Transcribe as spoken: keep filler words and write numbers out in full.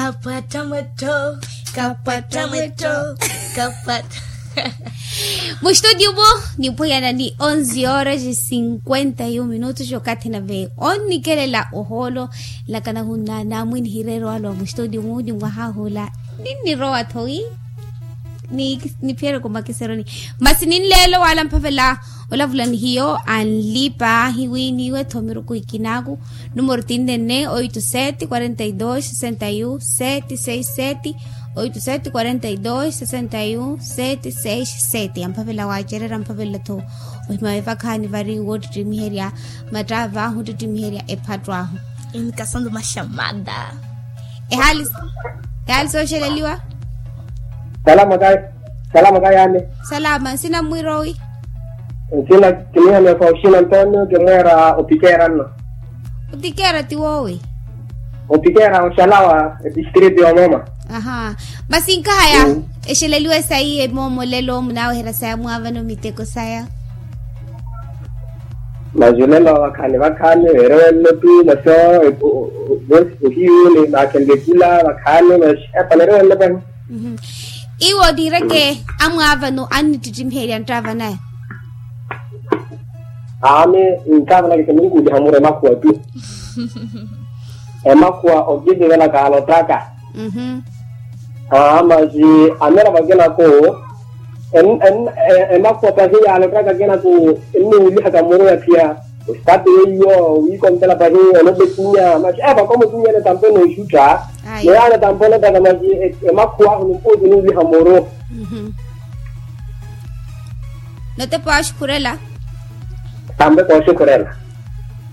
Kapwatta mwetto. Kapwatta mwetto. Kapwatta. Mustudio mu, niphwiyana ni onze horas e cinquenta e um minutos okathi nave onnikelela ohoolo. Lakana hunnana mwinihireero alowa mustudio mu ni mwahahula. Ninnirowa thowi. Niphiyereke omakiseroni. Masi ninleelo wala mphavela olavula ni hiyo anlipa ahiwi niwe thomiruku ikinaku. Numero tinnenne oito sete quarenta e dos sesenta e um sete seis sete. Oito sete quarenta e dos sesenta e um sete seis sete amphavela wacerera amphavela tho. Ohima wevakhaani vari wottittimiherya mattava ahu ottittimiherya ephatto ahu. Inkasandu maxamada. Ehaali soxeleliwa. Salama kayi. Salama kayi ame. Salama nsina mmwirowi. Nsina kiniha mefa oxina antonio kimweera opikera nno. Opikera tiwowi. Opikera oxalawa etistriti yomoma. Aha. Masi nkahaya. Exeleliwe sayi emoomolelo munaaweherya saya mwaavano miteko saya. Maxulelo vakhaani vakhaani veerewenle tu maxo. Vosi ohiyuni naakhenle kula vakhaani maxo. Epanerewenle pahi. Iwo niireke amwaavano annittittimiherya nttaavanaya. Aami nttaavanaka ise ninkuuliha muro emakhuwa tu. Emakhuwa okivivela kaalottaka. Aa masi amera vakinaku. Emakhuwa pahi yaalottaka kinaku enniwulihaka muro ya phiya. Ositapi weiyo wiikontela pahi olopa etinya masi epa komo etinya ene tampo enooxutta. Neyo ane tampo olottaka masi emakhuwa ahu nimpuuti niwuliha muro. Notepa waxukhurela. Tampo ekooxukhurela.